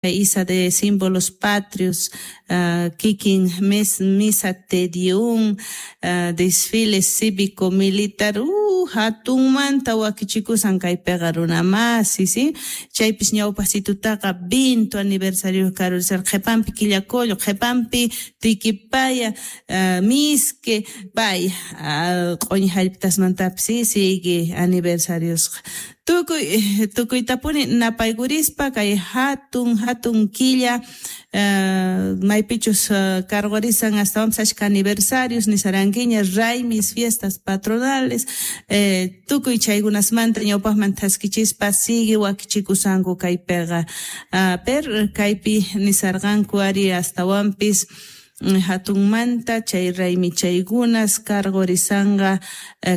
Isa de símbolos patrios, kikin misa Te Deum, desfile cívico militar, hatunmanta wakichikusan kaypiqa runa masi, si chaypis ñawpaqsitutaqa 20 aniversario karurisarqa qhipanpi Quillacollo, qhipanpi Tiquipaya, Misque, pay q'uñi hallp'atasmantapis si sigue aniversariosqa tukuy tukuytapuni napaykurispa kay hatun hatun killa maypichus karqurisan astawanpis ashka aniversarios nisarankiña raymis fiestas patronales tukuy chaykunasmanta ñawpaqman thaskichispa sigue wakichikusanku kaypiqa per kaypi nisarqanku ari astawanpis hatunmanta chay raymichaykunas karqurisanqa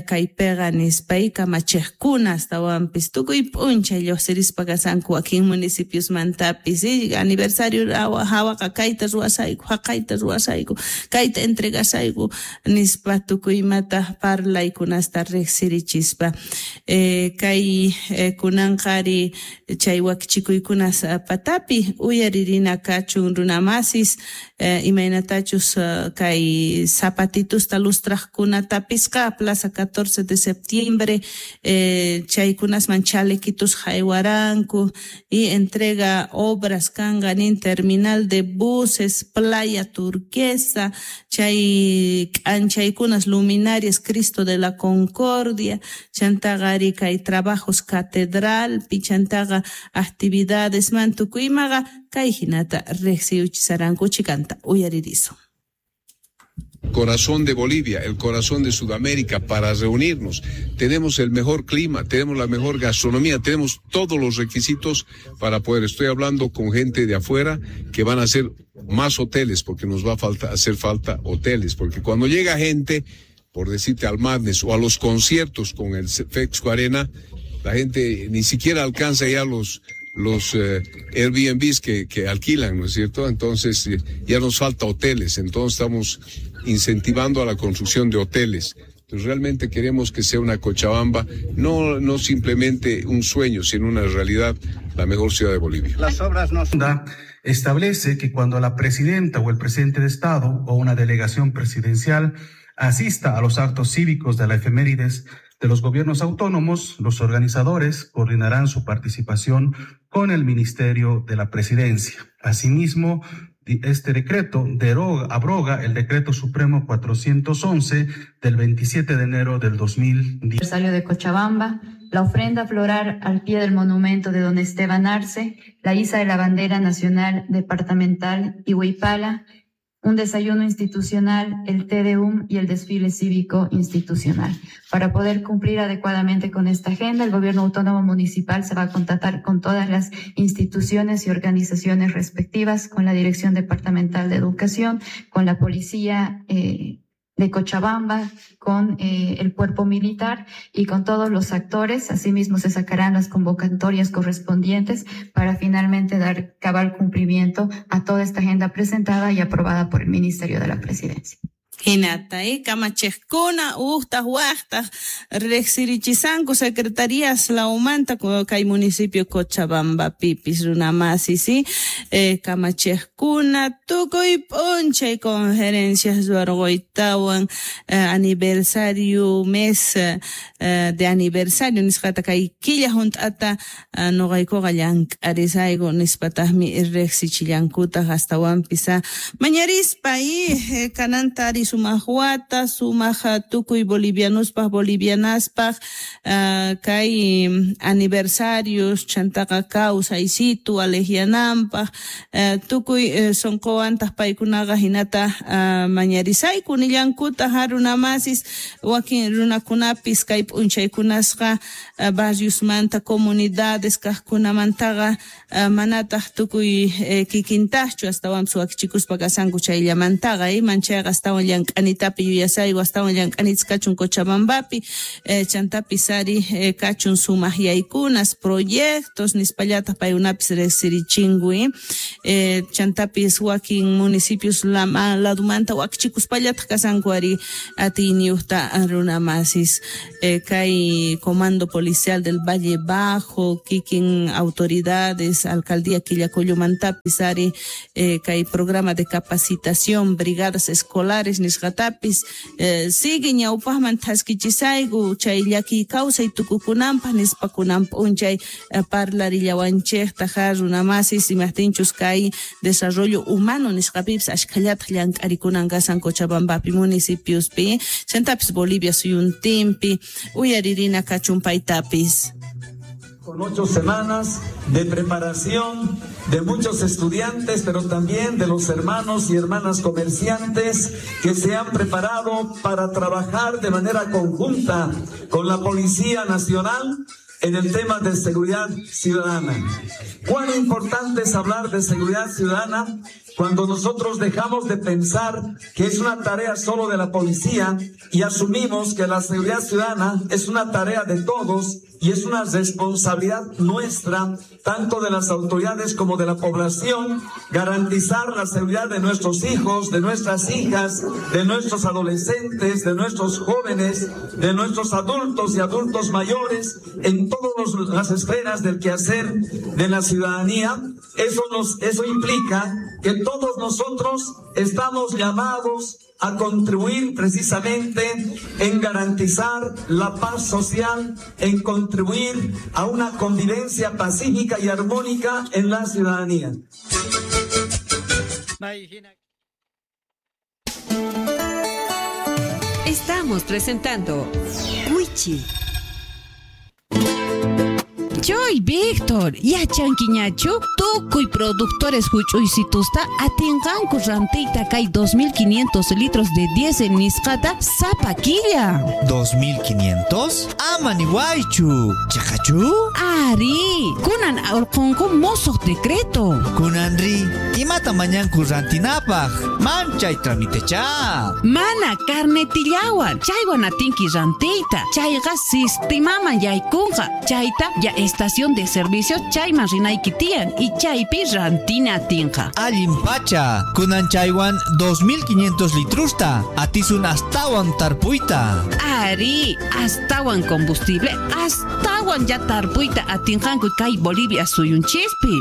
kaypiqa nispa kamachiqkuna astawanpis tukuy p'unchay lluqsirispa kasanku wakin municipiosmantapis aniversario hawaqa kayta ruwasayku haqayta ruwasayku kayta entregasayku nispa tukuy imata parlaykunasta riqsirichispa kay kunanqa ari chay wakichikuykunas patapi uyaririna kachun runamasis imaynatachus kay zapatitusta lustraqkunatapisqa Plaza 14 de septiembre chaykunasman chalequitos haywaranku y entrega obras kanqa nin terminal de buses, playa turquesa, chay k'anchaykunas luminarias Cristo de la Concordia, chantaqa ari kay trabajos catedralpi, chantaqa actividades man tukuy imaqa kay hinata riqsiyuchisaranku chikanta uyaririsun. Corazón de Bolivia, el corazón de Sudamérica, para reunirnos. Tenemos el mejor clima, tenemos la mejor gastronomía, tenemos todos los requisitos para poder. Estoy hablando con gente de afuera que van a hacer más hoteles, porque nos va a hacer falta hoteles, porque cuando llega gente, por decirte, al Madness o a los conciertos con el Fexco Arena, la gente ni siquiera alcanza ya los Airbnbs que alquilan, ¿no es cierto? Entonces ya nos falta hoteles, entonces estamos incentivando a la construcción de hoteles. Entonces realmente queremos que sea una Cochabamba, no simplemente un sueño, sino una realidad, la mejor ciudad de Bolivia. Las obras no son... Establece que cuando la presidenta o el presidente de Estado o una delegación presidencial asista a los actos cívicos de la efemérides de los gobiernos autónomos, los organizadores coordinarán su participación con el Ministerio de la Presidencia. Asimismo, este decreto abroga el Decreto Supremo 411 del 27 de enero del 2010. Aniversario de Cochabamba, la ofrenda floral al pie del monumento de don Esteban Arce, la iza de la bandera nacional departamental y Huipala, un desayuno institucional, el Te Deum y el desfile cívico institucional. Para poder cumplir adecuadamente con esta agenda, el Gobierno Autónomo Municipal se va a contactar con todas las instituciones y organizaciones respectivas, con la Dirección Departamental de Educación, con la Policía de Cochabamba, con el cuerpo militar y con todos los actores. Asimismo, se sacarán las convocatorias correspondientes para finalmente dar cabal cumplimiento a toda esta agenda presentada y aprobada por el Ministerio de la Presidencia. Hinata, kamachiqkuna uqtaq waqtaq riqsirichisanku secretarías lawmanta kay municipio Cochabambapipis runamasi, si kamachiqkuna tukuy p'unchay conferencias ruwarquytawan aniversario mes de aniversario nisqata kay killa hunt'ata nuqaykuqa llank'arisayku nispataqmi riqsichillankutaq astawanpis mañarispa y kananta ari sumaq wata, sumaq tukuy bolivianospaj, bolivianaspaj, kay aniversarios, chantaqa kawsaysitu alejianampaj, tukuy sunquwantaq paykunaqa hinata mañarisayku nillankutaq runamasis wakin runakunapis kay p'unchaykunasqa barriosmanta comunidades kaqkunamantaqa manataq tukuy kikintaqchu astawanpis wakichikuspa kasanku chayllamantaqa manchayqa astawan llank'anitapi yuyasayku astawan llank'anitas kachun Cochabambapi chantapis ari kachun sumaq yaykunas proyectos nispallataq paykunapis riqsirichinku. Chantapis wakin municipios ladumanta wakichikuspallataq kasanku ari atiyniyuqta runamasis. Kay Comando Policial del Valle Bajo, kikin autoridades, alcaldía Quillacollomantapis ari kay programa de capacitación, brigadas escolares nisqatapis sigue ñawpaqman thaskichisayku chay llaki kawsay tukukunanpaq nispa kunan p'unchay parlarillawanchejta ja runamasis imajtinchus kay desarrollo humano nisqapipis ashkhallataq llank'arikunan kasan Cochabambapi municipiospi chantapis Bolivia suyuntinpi uyaririna kachun paytapis. Con 8 semanas de preparación de muchos estudiantes, pero también de los hermanos y hermanas comerciantes que se han preparado para trabajar de manera conjunta con la Policía Nacional en el tema de seguridad ciudadana. Cuán importante es hablar de seguridad ciudadana cuando nosotros dejamos de pensar que es una tarea solo de la policía y asumimos que la seguridad ciudadana es una tarea de todos y es una responsabilidad nuestra, tanto de las autoridades como de la población, garantizar la seguridad de nuestros hijos, de nuestras hijas, de nuestros adolescentes, de nuestros jóvenes, de nuestros adultos y adultos mayores, en todas las esferas del quehacer de la ciudadanía. Eso implica que todos nosotros estamos llamados a contribuir precisamente en garantizar la paz social, en contribuir a una convivencia pacífica y armónica en la ciudadanía. Estamos presentando Wichi. Choy, Víctor, yachankiñachu tukuy productores huch'uysitusta atinqanku rantiyta kay 2500 litros de diésel nisqata sapa killa. 2500? Ama niwaychu. Chaqachu? Ari, kunan urqunku mosoq decreto. Kunanri, imata mañanku rantinapaq? Manchay tramitecha. Mana carnetillawan, chaywan atinki rantiyta. Chayqa sistimaman yaykunqa. Chayta ya estación de servicio chayman rinayki tiyan y chaypi rantina atinqa. Allin pacha, kunan chaywan 2500 litrusta, atisun astawan tarpuyta. Ari, astawan combustible, astawan ya tarpuyta atinqanku kay Bolivia suyunchispi.